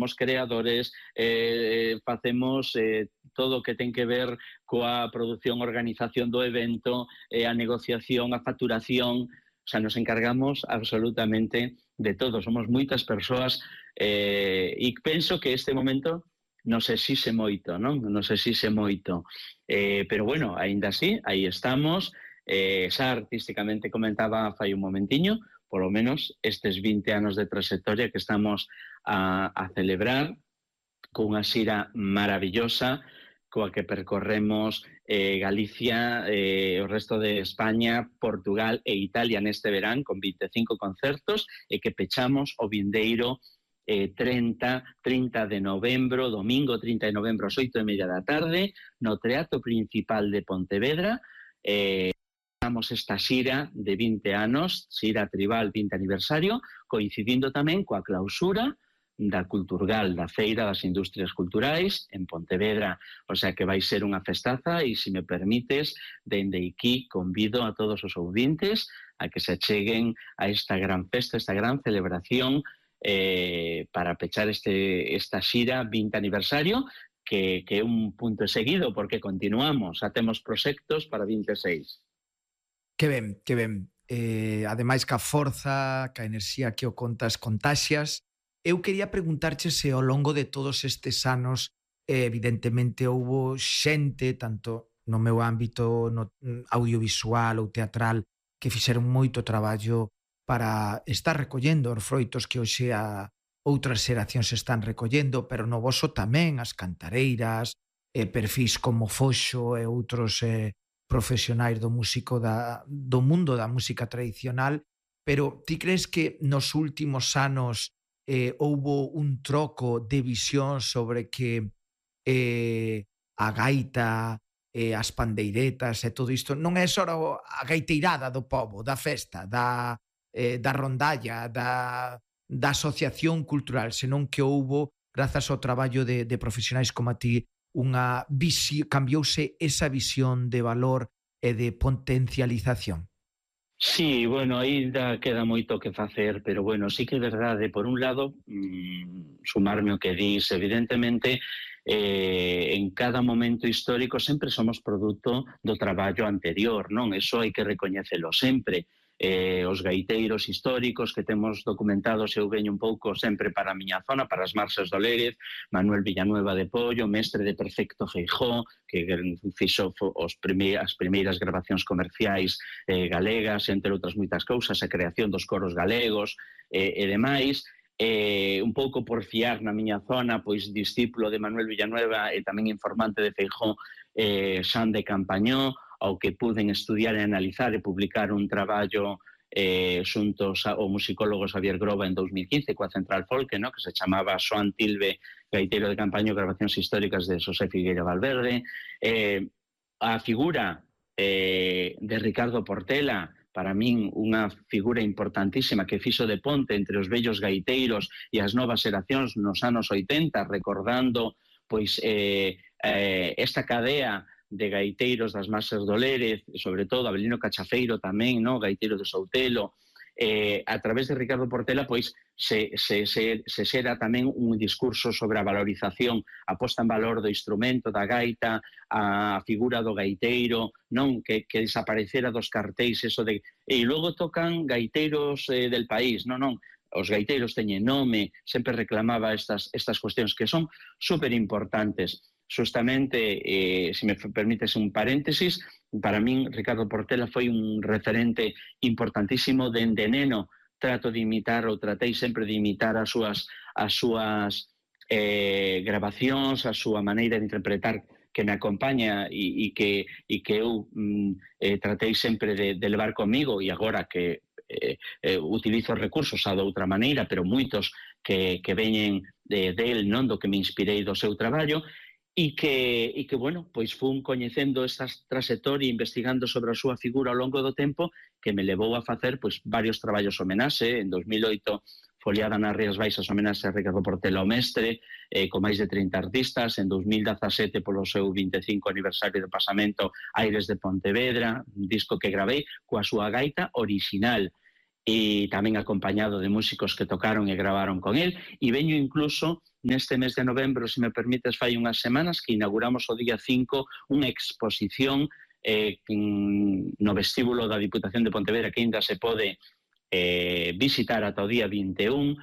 somos creadores, facemos todo o que ten que ver coa produción, organización do evento, a negociación, a facturación. O sea, nos encargamos absolutamente de todo. Somos moitas persoas e penso que este momento nos exixe moito, non? Nos exixe moito. Pero bueno, aínda así, aí estamos. Xa artísticamente comentaba fai un momentiño, polo menos estes 20 anos de trayectoria que estamos a celebrar cunha xira maravillosa coa que percorremos Galicia, o resto de España, Portugal e Italia neste verán con 25 concertos e que pechamos o vindeiro 30 de novembro, domingo 30 de novembro ás 8:30 da tarde no Teatro Principal de Pontevedra. Estamos esta xira de 20 anos, xira tribal 20 aniversario, coincidindo tamén coa clausura da Culturgal, da Feira das Industrias Culturais en Pontevedra. O sea que vai ser unha festaza e, se me permites, dende aquí convido a todos os ouvintes a que se acheguen a esta gran festa, esta gran celebración para pechar esta xira 20 aniversario, que é un punto seguido porque continuamos, temos proxectos para 26. Que ben, que ben. Ademais, ca forza, ca enerxía que o contas contaxias. Eu quería preguntarche se ao longo de todos estes anos evidentemente houbo xente, tanto no meu ámbito audiovisual ou teatral, que fixeron moito traballo para estar recollendo os froitos que hoxe a outras xeracións están recollendo, pero no voso tamén as cantareiras, perfis como Foxo e outros profesionais do mundo da música tradicional. Pero ti crees que nos últimos anos houbo un troco de visión sobre que a gaita, as pandeiretas e todo isto non é só a gaiteirada do pobo, da festa, da rondalla, da asociación cultural, senón que houbo, grazas ao traballo de profesionais como a ti, cambiouse esa visión de valor e de potencialización? Sí, bueno, ainda queda moito que facer, pero bueno, sí que é verdade, por un lado, sumarme o que dis, evidentemente, en cada momento histórico sempre somos produto do traballo anterior, non? Eso hai que recoñecelo sempre. Os gaiteiros históricos que temos documentados, eu veño un pouco sempre para a miña zona, para as Marxes do Lérez, Manuel Villanueva de Pollo, mestre de Perfecto Feijó, que fixo as primeiras grabacións comerciais galegas, entre outras moitas cousas, a creación dos coros galegos e demais. Un pouco por fiar na miña zona, pois discípulo de Manuel Villanueva e tamén informante de Feijó, Xan de Campañó, ao que puden estudiar e analizar e publicar un traballo xuntos ao musicólogo Xavier Groba en 2015 coa Central Folk, que se chamaba Xoan Tilbe, gaiteiro de Campaño, grabacións históricas de Xosé Figueira Valverde. A figura de Ricardo Portela, para min unha figura importantísima que fixo de ponte entre os vellos gaiteiros e as novas xeracións nos anos 80, recordando pois esta cadea de gaiteiros das Marxes do Lérez, sobre todo Abelino Cachafeiro tamén, gaiteiro de Soutelo. A través de Ricardo Portela pois se xera tamén un discurso sobre a valorización, a posta en valor do instrumento, da gaita, a figura do gaiteiro, non que desaparecera dos cartéis, eso de... E logo tocan gaiteiros del país, non, os gaiteiros teñen nome, sempre reclamaba estas cuestións que son super importantes. Justamente, se me permites un paréntesis, para min Ricardo Portela foi un referente importantísimo dende neno. Tratei sempre de imitar as súas grabacións, a súa maneira de interpretar que me acompaña e que eu tratei sempre de levar comigo, e agora que utilizo recursos de outra maneira, pero moitos que veñen del, non do que me inspirei do seu traballo. E que, bueno, pois fun coñecendo esta trayectoria, investigando sobre a súa figura ao longo do tempo, que me levou a facer pois varios traballos homenaxe. En 2008, foliada nas Rías Baixas, homenaxe a Ricardo Portela o mestre, con máis de 30 artistas. En 2017, polo seu 25 aniversario de pasamento, Aires de Pontevedra, un disco que gravei coa súa gaita orixinal. e tamén acompañado de músicos que tocaron e gravaron con el, e veño incluso neste mes de novembro, se me permites, fai unhas semanas que inauguramos o día 5 unha exposición no vestíbulo da Diputación de Pontevedra que ainda se pode visitar ata o día 21,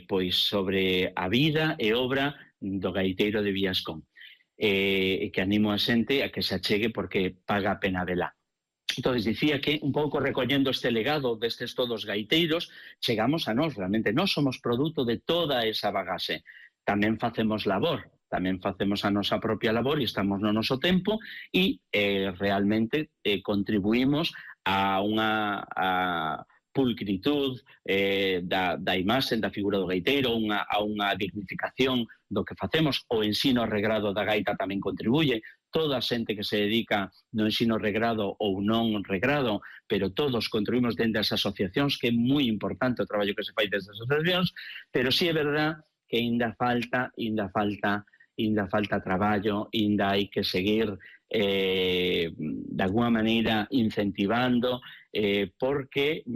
pois sobre a vida e obra do gaiteiro de Vilascón, que animo a xente a que se achegue porque paga a pena vela. Entón, dicía que un pouco recollendo este legado destes todos gaiteiros, chegamos a nós, realmente nós somos produto de toda esa bagaxe. Tamén facemos labor, tamén facemos a nosa propia labor e estamos no noso tempo e realmente contribuímos a unha pulcritud da imaxe, da figura do gaiteiro, a unha dignificación do que facemos. O ensino regrado da gaita tamén contribuye. Toda a xente que se dedica no ensino regrado ou non regrado, pero todos contribuímos dentro das asociacións, que é moi importante o traballo que se fai desde as asociacións, pero sí é verdad que ainda falta traballo, ainda hai que seguir de alguma maneira incentivando, porque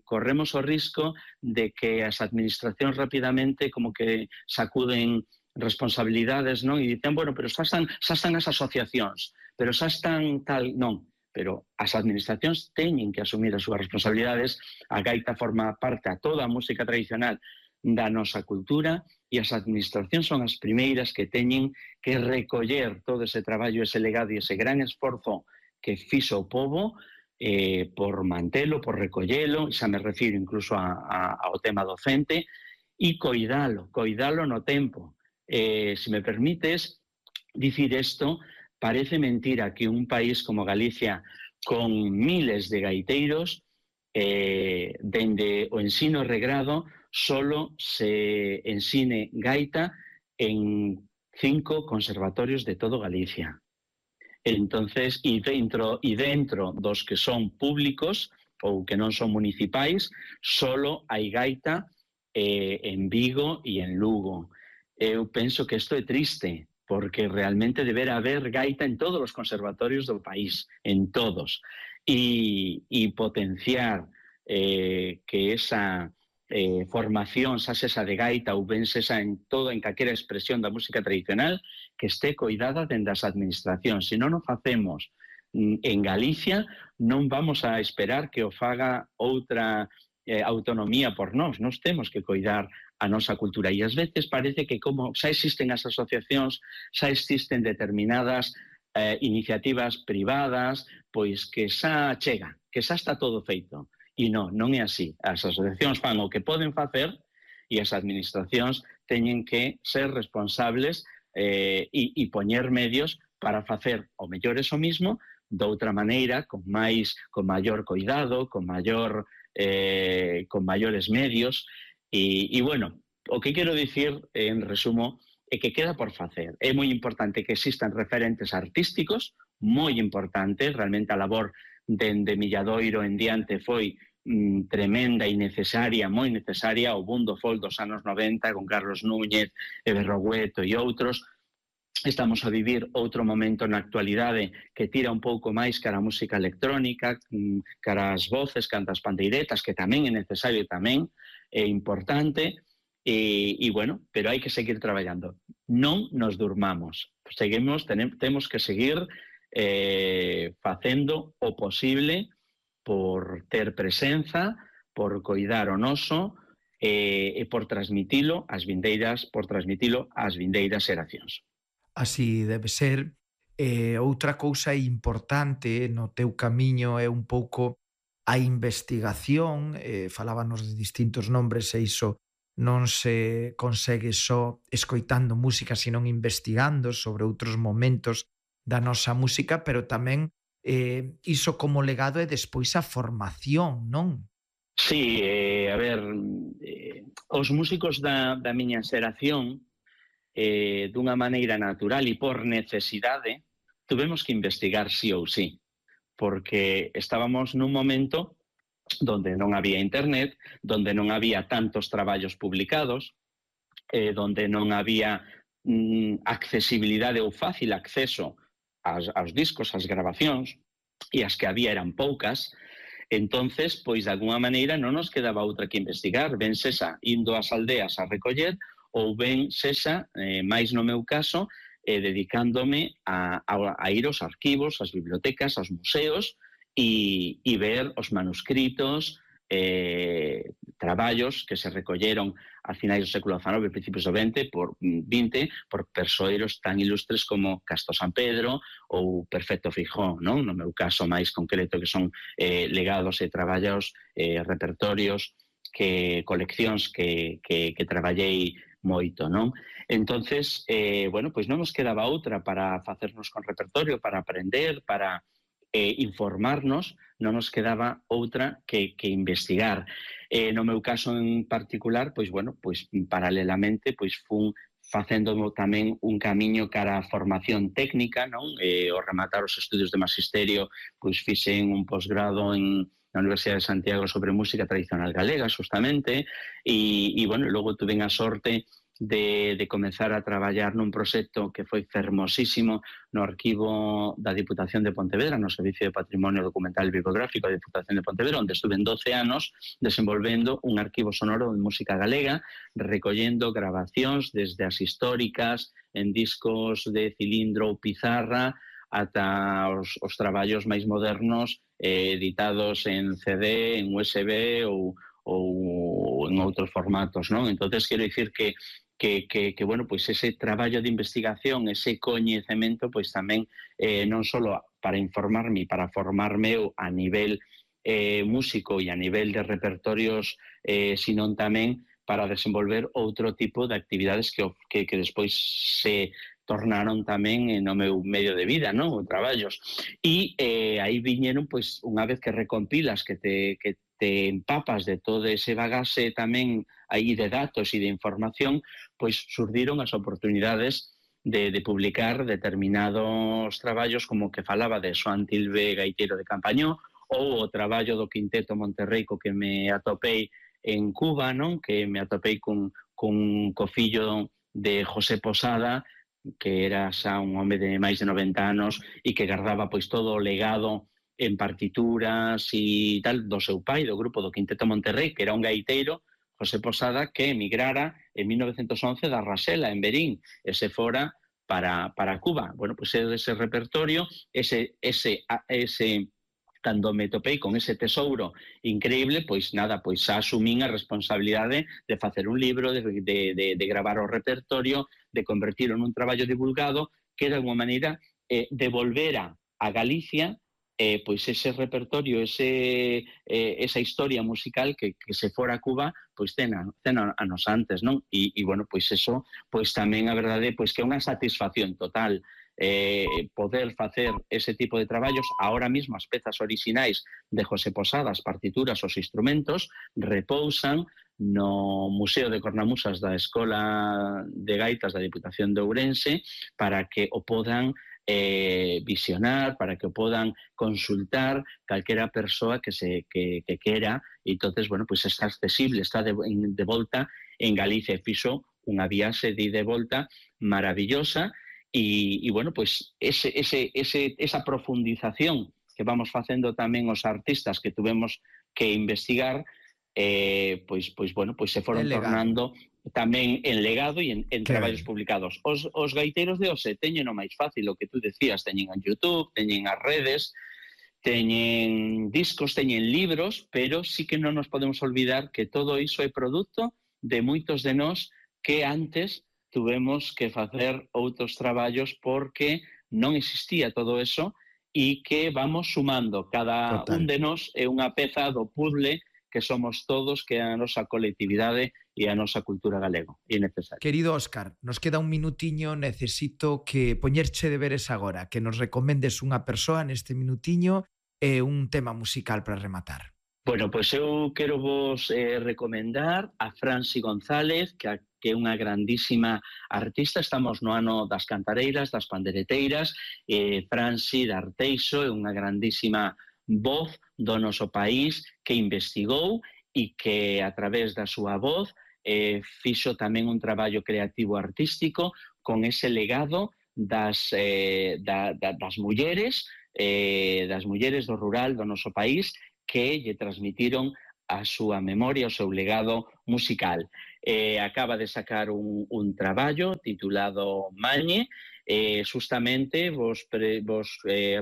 corremos o risco de que as administracións rapidamente como que sacuden responsabilidades, non? E dicen, bueno, pero xa están as asociacións, pero xa están tal, non. Pero as administracións teñen que asumir as súas responsabilidades. A gaita forma parte a toda a música tradicional da nosa cultura e as administracións son as primeiras que teñen que recoller todo ese traballo, ese legado e ese gran esforzo que fixo o pobo por mantelo, por recollelo, xa me refiro incluso ao tema docente, e coidalo no tempo. Se me permites dicir isto, parece mentira que un país como Galicia, con miles de gaiteiros, dende o ensino regrado, solo se ensine gaita en 5 conservatorios de todo Galicia. Entonces, e dentro dos que son públicos ou que non son municipais, solo hai gaita en Vigo e en Lugo. Eu penso que isto é triste, porque realmente deberá haber gaita en todos os conservatorios do país, en todos, e potenciar que esa formación, xa esa de gaita ou ben esa en calquera expresión da música tradicional, que este coidada dende as administracións. Se non o facemos en Galicia, non vamos a esperar que o faga outra autonomía por nós temos que coidar a nosa cultura, e ás veces parece que como xa existen as asociacións, xa existen determinadas iniciativas privadas, pois que xa chega, que xa está todo feito, e non é así. As asociacións fan o que poden facer e as administracións teñen que ser responsables e poñer medios para facer o mellor eso mismo, de outra maneira, con maior cuidado, con maiores medios. E bueno, o que quero dicir en resumo é que queda por facer. É moi importante que existan referentes artísticos, moi importante, realmente a labor dende Milladoiro en diante foi tremenda e necesaria, moi necesaria, o boom do folk dos anos 90 con Carlos Núñez, Berrogueto e outros. Estamos a vivir outro momento na actualidade que tira un pouco máis cara a música electrónica, cara as voces, cara as pandeiretas, que tamén é necesario e tamén é importante, e bueno, pero hai que seguir traballando. Non nos durmamos. Temos que seguir facendo o posible por ter presenza, por coidar o noso e por transmitilo ás vindeiras xeracións. Así debe ser. Outra cousa importante no teu camiño é un pouco a investigación. Falábanos de distintos nombres e iso non se consegue só escoitando música, sino investigando sobre outros momentos da nosa música, pero tamén iso como legado e despois a formación, non? Sí, a ver, os músicos da miña xeración, dunha maneira natural e por necesidade, tuvemos que investigar sí ou sí, porque estábamos nun momento donde non había internet, donde non había tantos traballos publicados, donde non había accesibilidade ou fácil acceso aos discos, ás grabacións, e as que había eran poucas. Entonces, pois, de alguna maneira, non nos quedaba outra que investigar, ben sexa indo ás aldeas a recoller, ou ben sexa, máis no meu caso, dedicándome a ir aos arquivos, ás bibliotecas, aos museos, e ver os manuscritos, traballos que se recolleron a finais do século XIX, principios do XX, por persoeiros tan ilustres como Casto San Pedro ou Perfecto Fijón, non? No meu caso máis concreto, que son legados e traballos, repertorios, coleccións que traballei moito, non? Entonces, bueno, pois non nos quedaba outra para facernos con repertorio, para aprender, para informarnos, non nos quedaba outra que investigar. No meu caso en particular, pois, bueno, pois paralelamente, pois fun facendo tamén un camiño cara a formación técnica, non? Ao rematar os estudios de magisterio, pois fixen un posgrado na Universidade de Santiago sobre música tradicional galega, justamente, e bueno, logo tuve a sorte de comenzar a traballar nun proxecto que foi fermosísimo no arquivo da Diputación de Pontevedra, no Servicio de Patrimonio Documental e Bibliográfico da Diputación de Pontevedra, onde estuve 12 anos desenvolvendo un arquivo sonoro de música galega, recollendo grabacións desde as históricas en discos de cilindro ou pizarra ata os traballos máis modernos editados en CD, en USB ou en outros formatos, non? Entonces, quero dicir que bueno, pois ese traballo de investigación, ese coñecemento, pois tamén non só para informarme, para formarme a nivel músico e a nivel de repertorios, sino tamén para desenvolver outro tipo de actividades que despois se tornaron tamén no meu medio de vida, non? Traballos. E aí viñeron, pois, unha vez que recompilas, que te empapas de todo ese bagaxe tamén aí de datos e de información, pois surdiron as oportunidades de publicar determinados traballos, como que falaba de Xoán Tilbe, gaiteiro de Campañó, ou o traballo do Quinteto Monterrey, que me atopei en Cuba, non? Que me atopei co fillo de José Posada, que era xa un home de máis de 90 anos e que guardaba pois todo o legado en partituras e tal do seu pai, do grupo do Quinteto Monterrey, que era un gaiteiro, José Posada, que emigrara en 1911 da Rasela, en Berín, e se fora para Cuba. Bueno, pois ese repertorio, cando me topei con ese tesouro increíble, pois nada, pois xa asumín a responsabilidade de facer un libro, de gravar o repertorio, de convertirlo nun traballo divulgado, que de alguma maneira devolvera a Galicia pois ese repertorio, esa historia musical que se fora a Cuba, pois ten anos antes, non? E bueno, pois eso, pois tamén a verdade, pois que é unha satisfacción total poder facer ese tipo de traballos. Ahora mismo as pezas orixinais de José Posada, as partituras, os instrumentos, repousan no Museo de Cornamusas da Escola de Gaitas da Diputación de Ourense para que o podan visionar, para que o podan consultar calquera persoa que quera, e entonces, bueno, pues está accesible, está de volta en Galicia, fixo unha viaxe de ida e volta maravillosa. E bueno, pues esa profundización que vamos facendo tamén os artistas que tuvemos que investigar, pois bueno, pois se foron tornando tamén en legado e en traballos publicados. Os gaiteiros de hoxe teñen o máis fácil, o que tú decías, teñen en YouTube, teñen as redes, teñen discos, teñen libros, pero sí que non nos podemos olvidar que todo iso é produto de moitos de nós que antes tuvemos que facer outros traballos porque non existía todo eso e que vamos sumando. Cada un de nós é unha peza do puzzle que somos todos, que é a nosa colectividade e a nosa cultura galego. E necesario. Querido Óscar, nos queda un minutiño, necesito que poñerche deberes agora, que nos recomendes unha persoa neste minutiño e un tema musical para rematar. Bueno, pois eu quero vos recomendar a Franci González, que é unha grandísima artista. Estamos no ano das cantareiras, das pandereteiras. Franci de Arteixo é unha grandísima voz do noso país que investigou e que a través da súa voz fixo tamén un traballo creativo artístico con ese legado das mulleres do rural do noso país, que lle transmitiron a súa memoria, o seu legado musical. Acaba de sacar un traballo titulado Mañe, justamente vos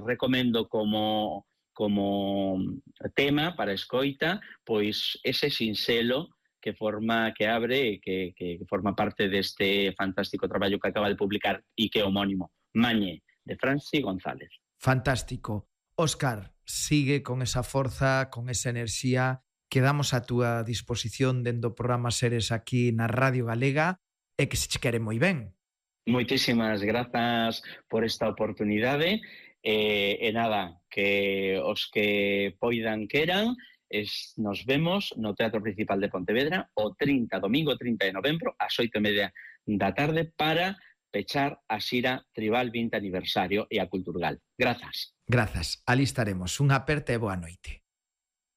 recomendo como tema para escoita, pois ese sinxelo que abre que forma parte deste fantástico traballo que acaba de publicar e que é homónimo, Mañe, de Franci González. Fantástico. Óscar, sigue con esa forza, con esa enerxía. Quedamos a túa disposición dentro do programa Seres aquí na Radio Galega e que se che quere moi ben. Moitísimas grazas por esta oportunidade e nada, que os que poidan queran nos vemos no Teatro Principal de Pontevedra domingo 30 de novembro ás 8:30 da tarde para pechar a xira Tribal 20 aniversario e a Culturgal. Grazas. Grazas, ali estaremos. Unha aperta e boa noite.